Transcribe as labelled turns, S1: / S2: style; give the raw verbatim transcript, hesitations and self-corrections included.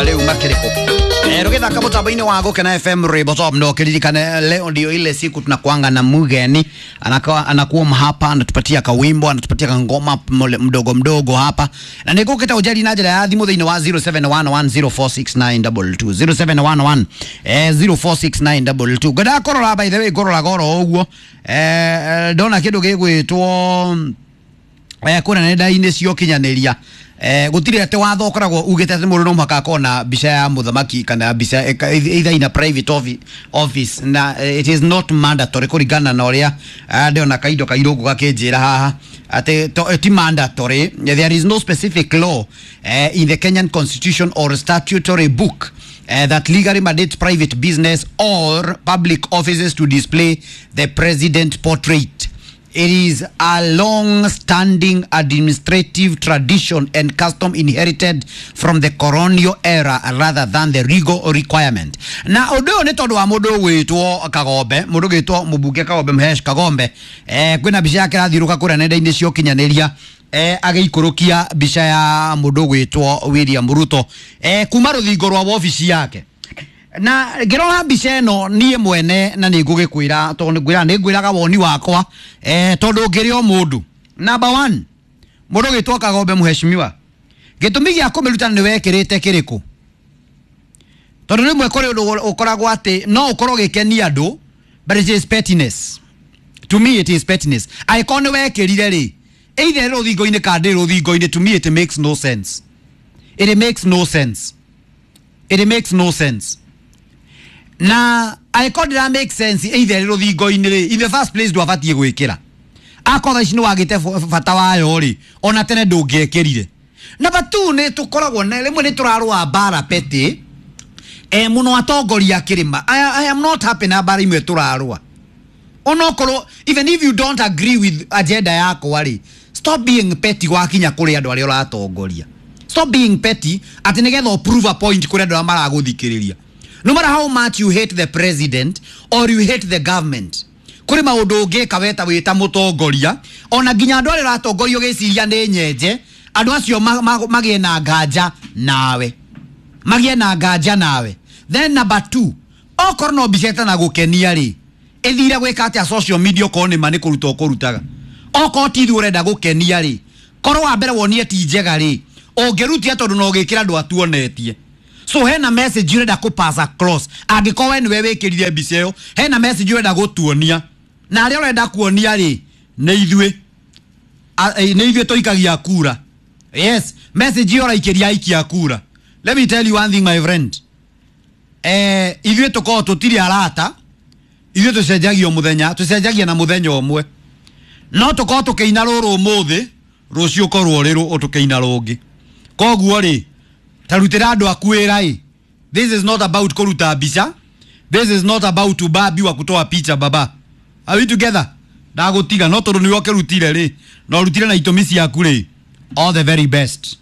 S1: Rĩu makĩrĩkũ rũgĩthaka mũtambo-inĩ wa Gũkena F M Rwĩmbo Top. No kiririkane leo ndio ile siku tunakuanga na mugeni anakuwa anakuwa hapa, anatupatia kawimbo, anatupatia kangoma mdogo mdogo hapa, na nĩngũkĩta ũnjari na njĩra ya thimũ thĩinĩ wa zero seven one one zero four six nine two two zero seven one one zero four six nine two two. Ngwendaga kũrora, by the way, ngũrora goro ũguo eh ndona kĩndũ gĩgwĩtwo eh kũrĩa nenda-inĩ cia ũkinyanĩria. Eh gũtirĩ atĩ watho ũkoragwo ugĩte atĩ mũndũ no mũhaka akorwo na mbica ya mũthamaki kana mbica either in a private office, na it is not mandatory kũringana na ũrĩa ndĩona kaindo kairũngũ gakĩnjĩra haha atĩ ti mandatory. There is no specific law eh, in the Kenyan constitution or statutory book Uh, that legally mandates private business or public offices to display the president portrait. It is a long-standing administrative tradition and custom inherited from the colonial era rather than the legal requirement. Na ũndũ ũyũ nĩ tondũ wa mũndũ ũgwĩtwo Kagombe, mũndũ ũgwĩtwo mũmbunge Kagombe, Mhesh Kagombe. Eh, kwĩna mbica yake ĩrathiũrũka kũrĩa nenda-inĩ cia ũkinyanĩria, eh, agĩikũrũkia mbica ya mũndũ ũgwĩtwo William Ruto eh, kuma rũthingo rwa wabici yake. Na ngĩrora mbica ĩno niĩ mwene, na nĩ ngũgĩkwĩra tondũ nĩngwĩra nĩngwĩraga woni wakwa eh, tondũ ngĩrĩ o mũndũ. Number one, mũndũ ũgwĩtwo Kagombe mheshimiwa, gĩtũmi gĩa kũmĩruta nĩ wekĩrĩte kĩrĩkũ? Tondũ rĩmwe kũrĩ ũndũ ũkoragwo atĩ no ũkorwo ũgĩkenia andũ, but it is pettiness. To me it is pettiness. Angĩkorwo nĩ wekĩrire rĩ, either rũthingo-inĩ kana ndĩ rũthingo-inĩ, to me it makes no sense. It makes no sense. It makes no sense. Na angĩkorwo ndĩra make sense either rũthingo-inĩ rĩ, in the first place ndwabatiĩ gwĩkĩra. Akorwo ici nĩ wagĩte bata wayo rĩ, ona tene ndũngĩekĩrire. Number two, nĩ tũkoragwo na rĩmwe nĩ tũrarũa mbara petty eh, mũno atongoria kĩrĩma. I, I am not happy na mbara imwe tũrarũa. Onokorwo even if you don't agree with agenda yakwa rĩ, stop being petty wakinya kũrĩ andũ arĩa ũratongoria. Stop being petty atĩ nĩgetha prove a point kũrĩ andũ arĩa maragũthikĩrĩria. No matter how much you hate the president or you hate the government, kũrĩ maũndũ ũngĩka weta wĩta mũtongoria, ona nginya andũ arĩa ũratongoria ũgĩciria nĩ nyenje, andũ acio magĩe na nganja nawe, magĩe na nganja nawe. Then number two, okorwo no mbica ĩtanagũkenia rĩ, ĩthire gwĩka atĩa social media okorwo nĩ ma nĩ kũruta ũkũrutaga. Okorwo ti ithuĩ ũrenda gũkenia rĩ, korwo wa mbere wonie ti njega rĩ, ũngĩrutia tondũ no ũgĩkĩra andũ atuonetie. So hena message urenda kũ pass across. Angĩkorwo we nĩwe wĩkĩrire mbica ĩyo, hena message urenda gũtuonia, na arĩa ũrenda kuonia rĩ nĩ ithuĩ, nĩ ithuĩ tũikagia kura. Yes, message ĩyo ũraikĩria aikia kura. Let me tell you one thing my friend, eh, ithuĩ tũkorwo tũtirĩ arata, ithuĩ tũcenjagia mũthenya, tũcenjagia na mũthenya ũmwe. No tũkorwo tũkĩina rũrũ ũmũthĩ, rũciũ ũkorwo ũrĩ tũkĩina rũngĩ. Koguo rĩ, tarutĩra andũ aku wĩra ĩ. This is not about kũruta mbica. This is not about ubabi wa kutoa picha baba. Are we together? Ndagũtiga no tondũ nĩwe ũkĩrutire rĩ, na ũrutire na itũmi ciaku rĩ. All the very best.